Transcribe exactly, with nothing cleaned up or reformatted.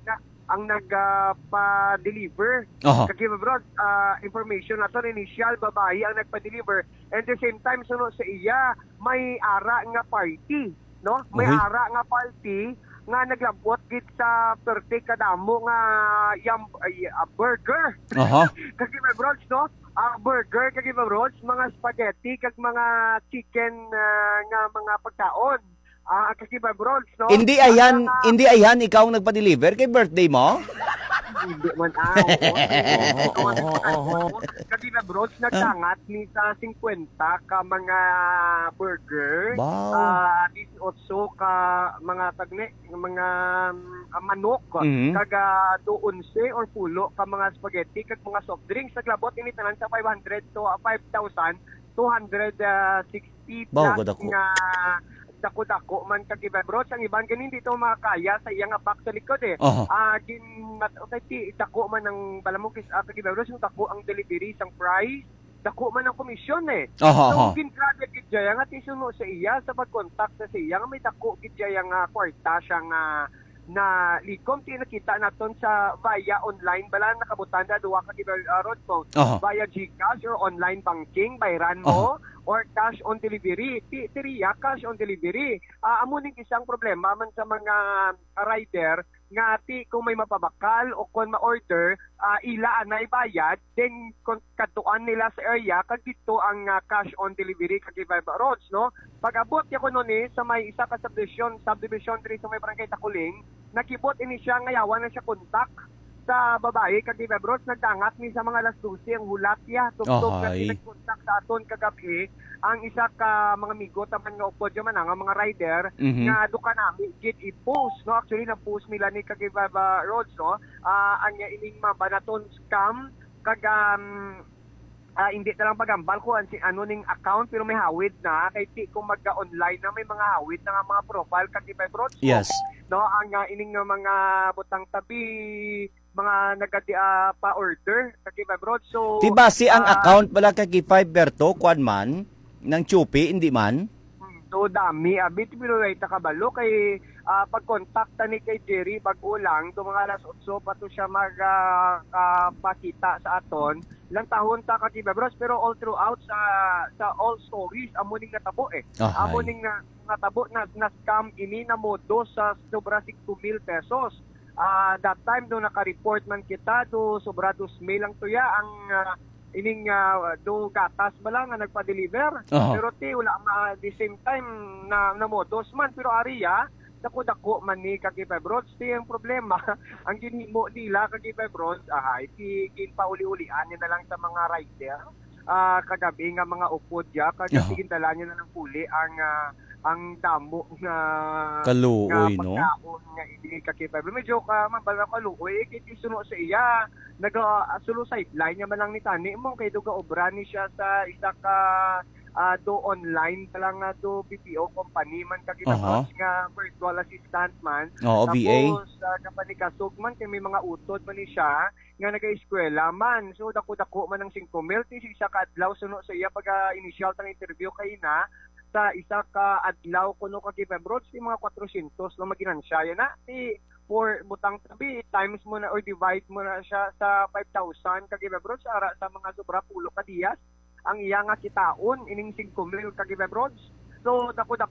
na ang nagpa-deliver. Aha. Kag, Bro, ah, information nato, initial, babayi ang nagpa-deliver. And the same time, suno sa iya, may ara nga party, no? May Uy. ara nga party nga naglabot gid sa perti kadamo nga yam, ay, ah, burger. Aha. Kag, Bro, no? Ah, burger, kag, Bro, mga spaghetti, kag mga chicken, ah, nga mga pagkaon. Ah, kag, Bro, no? Hindi Ang ayan, mga hindi ayan ikaw ang nagpa-deliver kay birthday mo? Hindi man, ah, oo. Oo, oo, oo. Kag, Bro, nagdangat ni sa singkwenta ka mga burger, Wow. ah, dieciocho ka mga tagne, mga, mm, ah, manok, Mhm. kag, ah, do onse or pulo ka mga spaghetti, kag mga soft drinks. Naglabot ini tanan sa five hundred to, ah, five thousand two hundred sixty Bawo plus kadako. nga dako-dako man, kag, Bro, ang iban gani hindi to makakaya sa iya nga box sa likod, eh. Aha. Ah, gin-, mat-, okay, ti-, dako man ang, bala mo, kis-, ah, kag, Bro, yung dako ang delivery sang price, dako man ang komisyon, eh. Aha, So, aha. gin-grab gid siya nga tisuno sa iya sa pag-contact sa siya nga may dako gid siya nga kwarta siya nga na likom. Ti nakita naton sa via online, bala nakabutanda duwa ka giver, ah, Rodco, Aha. via GCash or online banking, bayran mo, Aha. or cash on delivery. Ti, tiriya, cash on delivery. Ah, amo ning isang problema man sa mga rider nga ti kung may mapabakal o kung ma-order, ah, ila anay bayad, then kung kadtuan nila sa area, kag dito ang, ah, cash on delivery, kag, Bro, Rods, no? Pag-abot niya kuno ni sa may isa ka subdivision, subdivision diri sa may barangay Takuling, nakibot ini siya nga yawa na siya kontak sa babayi, kag, Bro, Rods, nagdangat ni sa mga alas dose ang hulat niya. Tubtob nga Ahay. nagkontak sa aton kagabi ang isa ka mga amigo taman nga upod man nga mga rider Mhm. nga duka nami gid i-post, no? Actually, nag-post nila ni kag, Bro, Rods, no? Ah, ang ining mabanaton scam, kag, um, ah, hindi na lang pagambal kung an-, si, ano ning account, pero may hawid na. Kay ti kung mag-online na, may mga hawid na nga mga profile, kag, Bro, Rods, no? Yes. No, ang, ah, ining nga mga butang tabi, mga nagadi, ah, pa-order, kag, Bro, Rods. So, Di ba si ang ah, account pala kag Fiverr to, kuwan man, ng Shopee, hindi man? Hmm, so, dami, abi, pero way ta kabalo kay, ah, pag-contact ta ni kay Jerry, bag-o lang, to mga alas otso pa to siya mag, ah, ah, pakita sa aton. Lang tahon ta, kag, Bro, Rods, pero all throughout sa, sa all stories, amo ning natabo, eh. Ahay. Amo ning na-, natabo na, na-scam ini, namodo sa sobra singko mil pesos. Ah, that time, do naka-report man kita, do sobra dos mil ang tuya ang, ah, ining, ah, do gatas ba lang nga nagpa-deliver. Aha. Pero ti, wala ma-, the same time na namodos man, pero ari, ah, dako-dako man ni, kag, Bro, Rods. Ti ang problema, ang ginhimo nila, kag, Bro, Rods, ahay, ti ginpauli-ulian niya na lang sa mga rider, ah, kagabi nga mga upod ya, kag Aha. gindalan niya na lang puli ang, ah, ang damo nga Kaluoy, nga no? pagkaon nga ini, kag, Bro. Medyo ka, mabala kaluoy, eh, kay ti suno sa iya, naga, ah, sulo sideline niya man lang ni tani mo, kay duga obra ni siya sa isa ka, ah, do online pa lang nga do B P O company man, kag, Aha. Bro, Rods, nga virtual assistant man. Oo, V A. Tapos, ah, kapanikasog man, kay may mga utod man ni siya, nga nagaeskwela man. So, dako-dako man ang singko mil. Ti sa isa ka adlaw, suno sa iya pag, ah, initial tang interview kay na, sa isa ka adlaw kuno, kag, Bro, Rods, ti mga kwatrosyentos lang maginansya. Yan na, ti for butang tabi, times mo na or divide mo na siya sa five thousand, kag, Bro, Rods, ara sa mga sobra pulo ka diyas ang iya nga kitaon ining singko mil, kag, Bro, Rods. So, dako-dako